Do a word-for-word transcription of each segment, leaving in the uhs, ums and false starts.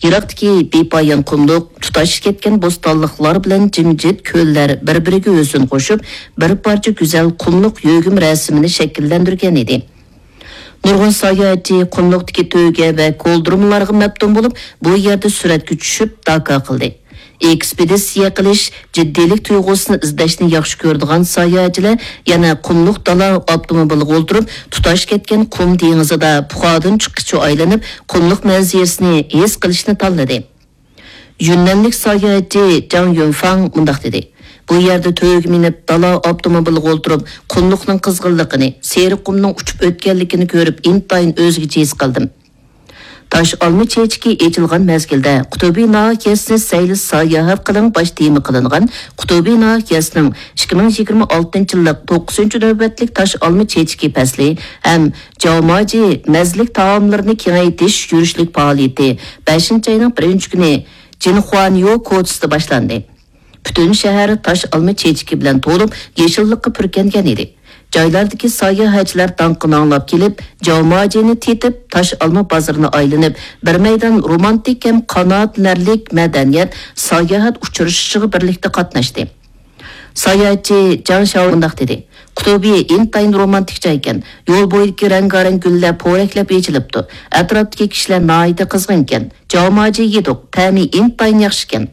يىراقتىكى بىپايان قۇملۇق، تۇتاش كەتكەن بوستانلىقلار بىلەن جىمجىت كۆللەر بىر-بىرىگە ھۆسن قوشۇپ، بىر پارچە گۈزەل قۇملۇق يۆگىمە رەسىمىنى شەكىللەندۈرگەن ئىدى. نۇرغۇن ساياھەتچى قۇملۇقتىكى تۆگە ۋە كولدۇرمىلارغا مەپتۇن بولۇپ، بۇ يەردە سۈرەتكە چۈشۈپ، داكا قىلدى. ئېكسپېدىتسىيە قىلىش جىددىيلىك تۇيغۇسىنى ئىزدەشنى ياخشى كۆرىدىغان ساياھەتچىلەر يەنە قۇملۇق دالا ئاپتوموبىلىغا ئولتۇرۇپ، تۇتاش كەتكەن قۇم دېڭىزىدا پۇخادىن چىققىچە ئايلىنىپ، قۇملۇق مەنزىرىسىنى ھېس قىلىشنى تاللىدى. يۈننەنلىك ساياھەتچى جاڭ يۈنفاڭ مۇنداق دېدى: «بۇ يەردە تۆگە مىنىپ، دالا ئاپتوموبىلىغا ئولتۇرۇپ، قۇملۇقنىڭ قىزغىنلىقىنى، سېرىق قۇمنىڭ ئۇچۇپ ئۆتكەنلىكىنى كۆرۈپ، ئىنتايىن ئۆزگىچە ھېس قىلدىم.» تاش ئالما چېچىكى ئېچىلغان مەزگىلدە قۇتۇبى ناھىيەسىنى سەيلە ساياھەت قىلىڭ باش تېما قىلىنغان قۇتۇبى ناھىيەسىنىڭ ئىككى مىڭ يىگىرمە ئالتىنچى يىللىق توققۇزىنچى نۆۋەتلىك تاش ئالما چېچىكى پەسلى ھەم جاۋماجى مەززىلىك تائاملىرىنى كېڭەيتىش يۈرۈشلۈك پائالىيىتى بەشىنچى ئاينىڭ بىرىنچى كۈنى جىنخۇانيو كوچىسىدا باشلاندى. پۈتۈن شەھەر تاش ئالما چېچىكى بىلەن تولۇپ، يېشىللىققا پۈركەنگەن ئىدى. جايلاردىكى ساياھەتچىلەر داڭقىنى ئاڭلاپ كېلىپ، جاۋماجىنى تېتىپ، تاش ئالما بازىرىنى ئايلىنىپ، بىر مەيدان رومانتىك ھەم قانائەتلىنەرلىك مەدەنىيەت، ساياھەت ئۇچرىشىشىغا بىرلىكتە قاتناشتى. ساياھەتچى جاڭ شاۋ مۇنداق دېدى: «قۇتۇبى ئىنتايىن رومانتىك جايكەن. يول بويىدىكى رەڭگارەڭ گۈللەر پورەكلەپ ئېچىلىپتۇ. ئەتراپتىكى كىشىلەر ناھايىتى قىزغىنكەن. جاۋماجى يېدۇق، تەمى ئىنتايىن ياخشىكەن.»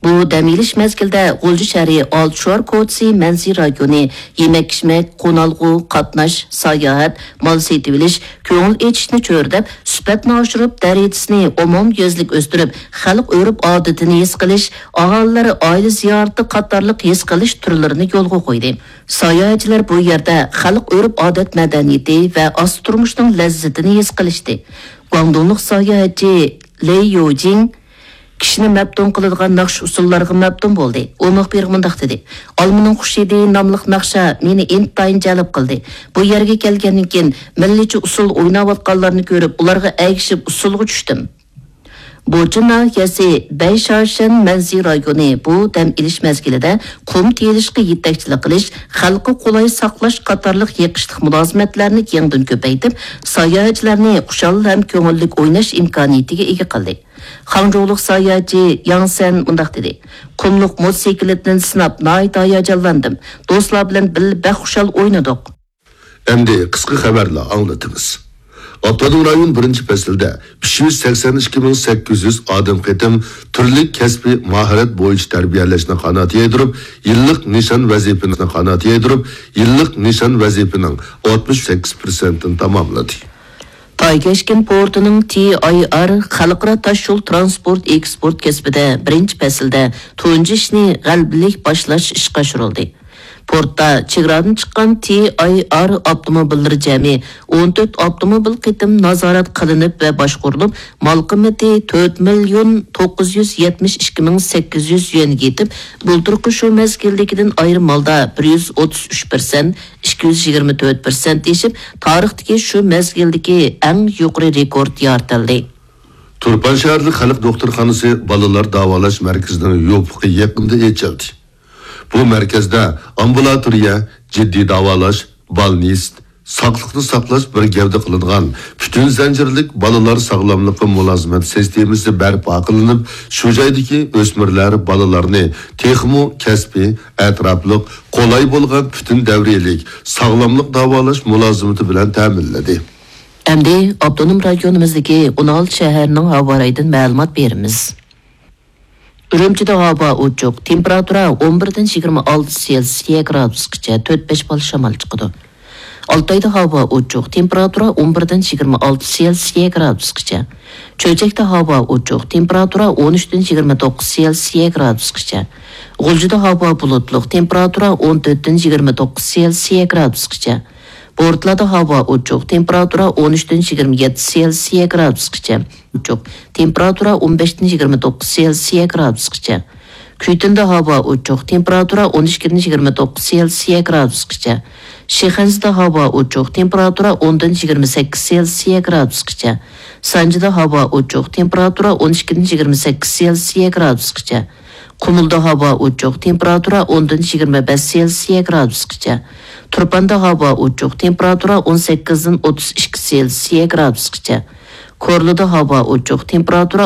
بۇ دەم ئېلىش مەزگىلىدە غۇلجا شەھىرى ئالتە شوئار كوچىسى مەنزىرە رايونى يېمەك-ئىچمەك، قونالغۇ، قاتناش، ساياھەت، مال سېتىۋېلىش، كۆڭۈل ئېچىشنى چۆرىدەپ، سۈپەتنى ئاشۇرۇپ، دەرىجىسىنى ئومۇميۈزلۈك ئۆستۈرۈپ، خەلق ئۆرپ-ئادىتىنى ھېس قىلىش، ئاھالىلەر ئائىلە زىيارىتى قاتارلىق ھېس قىلىش تۈرلىرىنى يولغا قويدى. ساياھەتچىلەر بۇ يەردە خەلق ئۆرپ-ئادەت مەدەنىيىتى ۋە ئاستا تۇرمۇشنىڭ لەززىتىنى ھېس قىلىشتى. گۇاڭدۇڭلۇق ساياھەتچى لېي يوجىڭ كىشىنى مەپتۇن قىلىدىغان ناخشا ئۇسسۇللارغا مەپتۇن بولدى. ئۇ مۇخبىرغا مۇنداق دېدى: «ئالمىنىڭ خۇش ھىدى» ناملىق ناخشا مېنى ئىنتايىن جەلپ قىلدى. بۇ يەرگە كەلگەندىن كېيىن مىللىيچە ئۇسسۇل ئويناۋاتقانلارنى كۆرۈپ، ئۇلارغا ئەگىشىپ ئۇسسۇلغا چۈشتۈم. بوچۇن ناھىيەسى بەيشاشەن مەنزى رايونى بۇ دەم ئېلىش مەزگىلىدە قۇم تېيىلىشقا يېتەكچىلىك قىلىش، خەلققە قولاي ساقلاش قاتارلىق يېقىشلىق مۇلازىمەتلەرنى يېڭىدىن كۆپەيتىپ، ساياھەتچىلەرنى خۇشال ھەم كۆڭۈللۈك ئويناش ئىمكانىيىتىگە ئىگە قىلدى. خاڭجۇلۇق ساياھەتچى ياڭ سەن مۇنداق دېدى: «قۇملۇق موتوسىكلىتىنى سىناپ، ناھايىتى ھاياجانلاندىم. دوستلار بىلەن بىللە بەك خۇشال ئوينىدۇق.» ئەمدى قىسقا خەۋەرلەر ئاڭلىتىمىز. ئاپتونوم رايون بىرىنچى پەسىلدە ئۈچ يۈز سەكسەن ئىككى مىڭ سەككىز يۈز ئادەم قېتىم تۈرلۈك كەسپىي ماھارەت بويىچە تەربىيەلەشنى قانات يايدۇرۇپ، يىللىق نىشان ۋەزىپىنى قانات يايدۇرۇپ، يىللىق نىشان ۋەزىپىنىڭ ئاتمىش سەككىز پىرسەنتىنى تاماملىدى. تايكەشكەن پورتىنىڭ تى ئاي ئار خەلقئارا تاشيول ترانسپورت ئېكسپورت كەسپىدە بىرىنچى پەسىلدە تۇنجى ئىشنى غەلىبىلىك باشلاش ئىشقا ئاشۇرۇلدى. پورتتا چېگرادىن چىققان تى ئاي ئار ئاپتوموبىللىرى جەمئىي ئون تۆت ئاپتوموبىل قېتىم نازارەت قىلىنىپ ۋە باشقۇرۇلۇپ، مال قىممىتى تۆت مىليون توققۇز يۈز يەتمىش ئىككى مىڭ سەككىز يۈز يۈەنگە يېتىپ، بۇلتۇرقى شۇ مەزگىلدىكىدىن ئايرىم ھالدا بىر يۈز ئوتتۇز ئۈچ پىرسەنت، ئىككى يۈز يىگىرمە تۆت پىرسەنت ئېشىپ، تارىختىكى شۇ مەزگىلدىكى ئەڭ يۇقىرى رېكورت يارىتىلدى. تۇرپان شەھەرلىك خەلق دوختۇرخانىسى بالىلار داۋالاش مەركىزىنىڭ يوپۇقى يېقىندا ئېچىلدى. بۇ مەركەزدە ئامبۇلاتورىيە، جىددىي داۋالاش، بالنىست، ساقلىقنى ساقلاش بىر گەۋدە قىلىنغان پۈتۈن زەنجىرلىك بالىلار ساغلاملىقى مۇلازىمەت سىستېمىسى بەرپا قىلىنىپ، شۇ جايدىكى ئۆسمۈرلەر، بالىلارنى تېخىمۇ كەسپىي، ئەتراپلىق، قولاي بولغان پۈتۈن دەۋرىيلىك ساغلاملىق داۋالاش مۇلازىمىتى بىلەن تەمىنلىدى. ئەمدى ئاپتونوم رايونىمىزدىكى ئون ئالتە شەھەرنىڭ ھاۋا رايىدىن مەلۇمات بېرىمىز. ئۈرۈمچىدە ھاۋا ئوچۇق، تېمپېراتۇرا ئون بىردىن يىگىرمە ئالتە سېلسىيە گرادۇسقىچە، تۆت بەش بال شامال چىقىدۇ. ئالتايدا ھاۋا ئوچۇق، تېمپېراتۇرا ئون بىردىن يىگىرمە ئالتە سېلسىيە گرادۇسقىچە. چۆچەكتە ھاۋا ئوچۇق، تېمپېراتۇرا ئون ئۈچتىن يىگىرمە توققۇز سېلسىيە گرادۇسقىچە. غۇلجىدا ھاۋا بۇلۇتلۇق، تېمپېراتۇرا ئون تۆتتىن يىگىرمە توققۇز سېلسىيە گرادۇسقىچە. بورتلادا ھاۋا ئوچۇق، تېمپېراتۇرا ئون ئۈچتىن يىگىرمە يەتتە سېلسىيە گرادۇسقىچە. ئوچۇق، تېمپېراتۇرا ئون بەشتىن يىگىرمە توققۇز سېلسىيە گرادۇسقىچە. كۈيتۈندە ھاۋا ئوچۇق، تېمپېراتۇرا ئون ئىككىدىن يىگىرمە توققۇز سېلسىيە گرادۇسقىچە. شىخەنزىدە ھاۋا ئوچۇق، تېمپېراتۇرا ئوندىن يىگىرمە سەككىز سېلسىيە گرادۇسقىچە. سانجىدا ھاۋا ئوچۇق، تېمپېراتۇرا ئون ئىككىدىن يىگىرمە سەككىز سېلسىيە گرادۇسقىچە. قۇمۇلدا ھاۋا ئوچۇق، تېمپېراتۇرا ئوندىن يىگىرمە بەش سېلسىيە گرادۇسقىچە. تۇرپاندا ھاۋا ئوچۇق، تېمپېراتۇرا ئون سەككىزدىن ئوتتۇز ئىككى سېلسىيە گرادۇسقىچە. كورلىدا ھاۋا ئوچۇق، تېمپېراتۇرا